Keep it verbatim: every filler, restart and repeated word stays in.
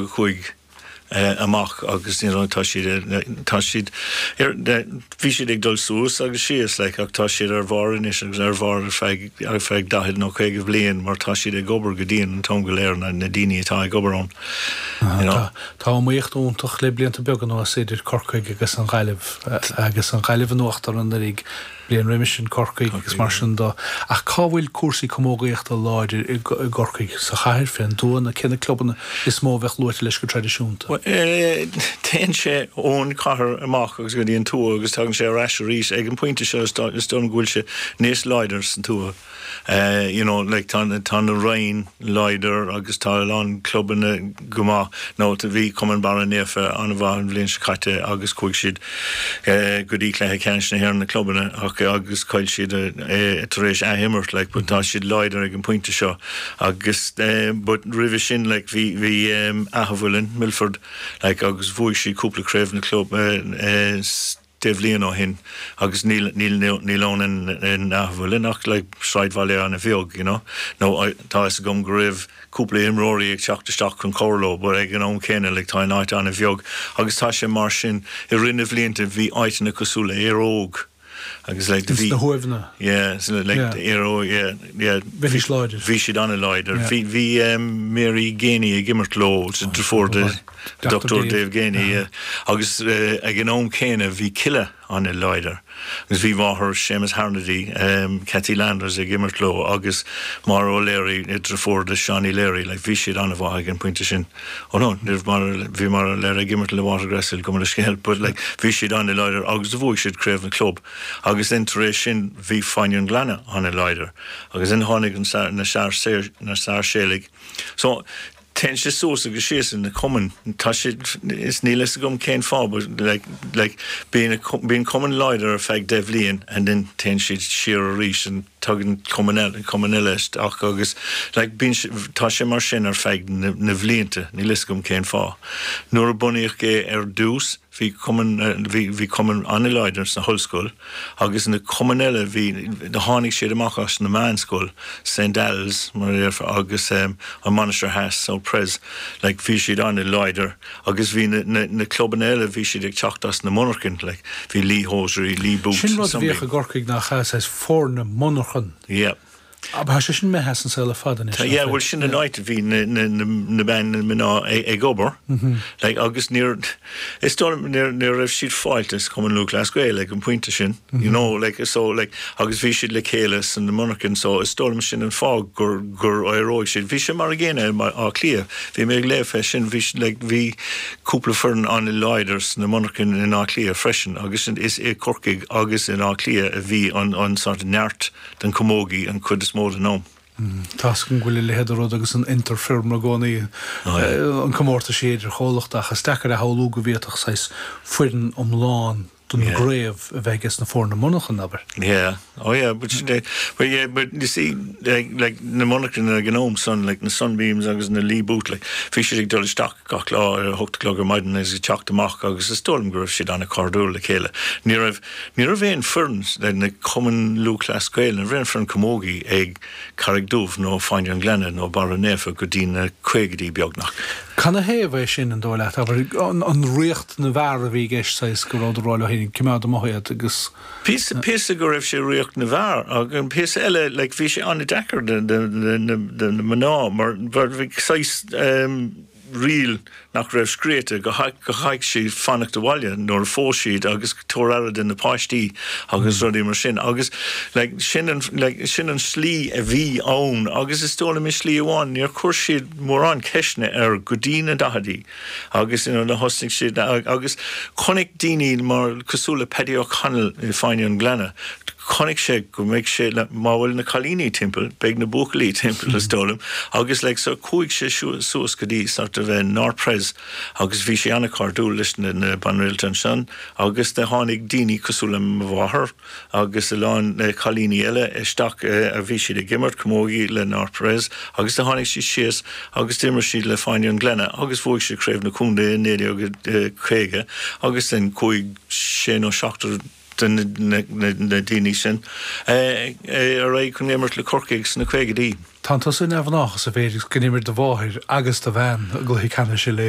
cúig amach agus you know, tá siad tá siad bhí siad ag dul suas agus síos like, ach tá siad ar bharr anois agus ar bharr ar feadh ar feadh daichead nó caoga bliain mar tá siad ag obair go dian an t-am go léir na, na daoine atá ag obair ann. You know. Tá iomaíocht iontach le blianta beaga anuas idir Corcaigh agus an Ghaillimh agus an Ghaillimh in uachtar anuraidh bliain roimhe sin Corcaigh agus mar sin de ach cá bhfuil cúrsaí camógaíochta láidir i gCorcaigh sa chathair fén dtuath na cé na clubanna is mó bheith luaite leis go traidisiúnta. Téann sé ón chathair amach agus go dtí an tuath agus tagann sé ar ais arís ag an pointe seo is dóigh go bhfuil sé níos láidir san tuath. Uh, you know, like tá tá na Rinn láidir agus tá an clubanna go maith nó bhí Cumann Barra Naofa an-mhaith an bhliain seo caite agus chuaigh siad uh, go dtí cluiche ceannais na hÉireann na clubanna ach agus chaill siad uh, tar éis athimirt like, but tá siad láidir ag an pointe seo agus uh, but roimhe sin like, bhí bhí um, Athmhuileann Milford like, agus bhuaigh siad cúpla craobh na club uh, uh, deich mbliana ó shin agus níl níl níl ann in in Athmhuileann ach like sráidbhaile an-bheag you know nó tá is agam go raibh cúpla imreoirí ag teacht isteach chun cabhrú leo but ag an am céanna like tá an áit an-bheag agus tá sé mar sin i rith na blianta bhí áiteanna cosúil le Éire Óg agus like bhí na hUaimheanna yeah so like yeah. Éire Óg yeah yeah bhí láidir bhí siad an-láidir bhí bhí um, Mary Geaney ag imirt leo deirfiúr de Dr. Dave Geaney yeah. agus uh, ag an am céanna bhí Killa an-láidir agus bhí máthair Seamus Harnedy um, Cathy Landers ag imirt leo agus Maura O'Leary deirfiúr de Seanie Leary like bhí siad an-mhaith ag an pointe sin ó no bhí mar le ag imirt le Watergrasshill go scéil but like bhí siad an-láidir agus bhuaigh siad craobh na club agus then tar éis sin bhí Fáinne an Ghleanna an-láidir agus in tháinig an na na Sáirséalaigh so Téann sé suas agus síos in na cumainn tá sé is níl a fhios agam cén fáth like like bíonn bíonn cumann láidir ar feadh deich mbliana and then téann siad siar arís an tagann cumann eile cumann eile ach agus like bíonn tá sé mar sin ar feadh na, na blianta níl a fhios agam cén fáth. Nuair a bunaíodh é ar dtús bhí cumann bhí bhí cumann an-láidir sna hollscoil agus na cumainn eile bhí tháinig siad amach as na meánscoil St. Al's mar agus um, an Mainistir Theas so Pres like bhí siad an-láidir agus bhí na, na, na clubanna eile bhí siad ag teacht as na monarchain like bhí Lee Hosiery Lee Boots Sin rud bhíodh i gCorcaigh nach as foirne monarchan. Yeah. Tá sé sin imithe an saol fada Yeah, well sin an áit bhí na na ban na mná ag obair like agus níor is dóigh ní raibh siad fáilte Cumann Lúthchleas Gael ag an pointe sin you know like so like agus bhí siad le chéile san na monarchain so is dóigh sin an fáth gur gur éireoidh siad bhí sé mar an gcéanna Áth Cliath bhí mé ag léamh sin bhí like bhí cúpla foireann an-láidir sna monarchain in Áth Cliath freisin agus is i Corcaigh agus in Áth Cliath a bhí an an sort neart den camogie an chuid is mó den am. Tá an bhfuil le rud agus an Interfirm i gcónaí an comórtas idir chomhlachtaí ach is deacair a shamhlú go bhféadfadh saghas foireann iomlán don gcraobh a bheith ag na foirne monarchan abair. Yeah. Oh yeah, but they, but yeah, but you see like, like na monarchain ag an am san like na Sunbeams agus na Lee Boot like bhí siad ag dul isteach gach lá ar hocht a chlog ar maidin agus ag teacht amach agus is dóigh go raibh siad an-chairdiúil le chéile. Ní raibh ní raibh aon foireann le na Cumann Lúthchleas Gael, ní raibh aon foireann camogie ag Carraig Dubh nó Fáinne an Ghleanna nó Barra Naofa go dtí na caogaidí beagnach. Canathaobh é sin an dóigh leat abair an, an ríocht na bhfear a bhí i gceist go raibh rá le héin cimeád amuigh agus Píosa píosa go raibh sé ríocht na bhfear agus an píosa eile like, bhí sé an-deacair de na mná mar mar bhí saghas um, riail nach raibh scríte go go gcaithfeadh siad fanacht abhaile nuair a phós siad agus tabhairt aire do na páistí agus rudaí mar sin agus like, sin an like, sin an slí a bhí ann agus is dóigh liom slí amháin níor chuir siad mórán ceisteanna ar go dtí na daichidí agus you know, na thosnaigh siad agus chonaic daoine mar cosúil le Paddy O'Connell i Fáinne an Ghleanna chonaic sé go mbeidh sé le má bhfuil na cailíní timpeall beidh na buachaillí timpeall is dóigh liom agus like, so chuaigh sé suas go dtí sort of North Pres agus bhí sé an-chairdiúil leis na, na banréalta ansin agus de tháinig daoine cosúil le mo mháthair agus a lán cailíní eile isteach a bhí siad ag imirt camogie le North Pres agus de tháinig siad síos agus d'imir siad le Fáinne an Ghleanna agus bhuaigh siad craobh na contae naoi déag caoga agus den chuaigh sé nó seachtar de na daoine sin ar aghaidh chun imirt le Corcaigh sna caogaidí. Tá tusa neamhghnách sa mhéid go d'imir do mháthair agus do bhean i gcluiche ceannais uile